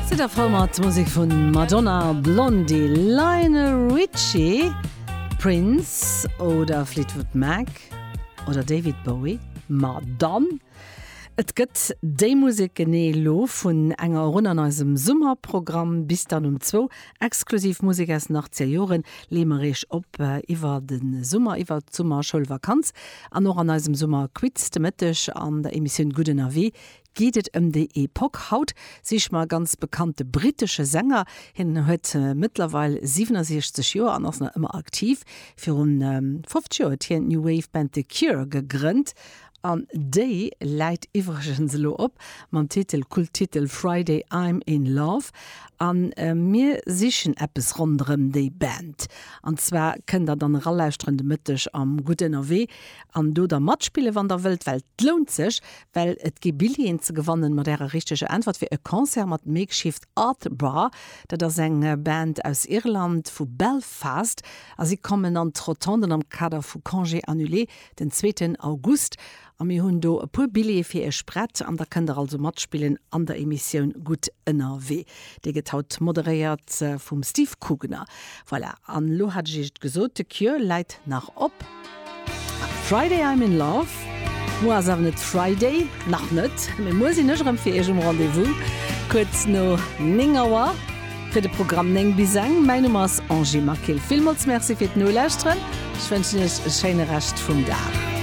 Sidd der frou mat Musek vun Madonna, Blondie, Lionel Richie, Prince oder Fleetwood Mac oder David Bowie? Ma dann! Et gëtt déi Musek genee elo vun enger erun an eisem Summerprogramm bis dann um zwou. Exklusiv Musek aus den 80er Joren leeë mer iech op iwwer de Summer, iwwer d'Summerschoulvakanz an och an eisem Summerquiz de Mëtteg an der Emissioun Gutt ënnerwee geet et ëm déi Epoch. Haut siche mer e ganz bekannte brittesche Sänger. Hien huet mëttlerweil 67 Joer an ass nach ëmmer aktiv. Virun 50 Joer huet hien d'New Wave Band The Cure gegrënnt an déi läit iwwregens elo op mam Titel, Kulttitel Friday I'm in Love. A mir sichen eppes ronderëm déi Band. An zwar kënnt der dann eralauschteren de Mëtteg am Gutt ënnerwee an do da matspillen, wann der wëllt, well et lount sech. Well et gi Billjeeën ze gewannen mat ärer richteger Äntwert fir e Concert mat Makeshift Art Bar. Dat ass eng Band aus Irland, vu Belfast, a si kommen an d'Rotonden am Kader vu Congé Annulé den zweeten August. A mir hunn do e puer Billjeeë fir iech prett an da kënnt der also matspillen an der Emissioun Gutt ënnerwee. Déi gëtt haut moderéiert vum Steve Kugener. Voilà, an elo hat ech iech et gesot, The Cure läit nach op. Friday I'm in love. Muer ass awer net Friday, nach net, mee muer sinn ech erëm fir iech um Rendez-vous, kuerz no 9 Auer fir de Programm 9 bis eng. Mäin Numm ass Angie Maquil. Villmools Merci fir d'Nolauschteren. Ech wënschen iech e schéine Rescht vum Dag.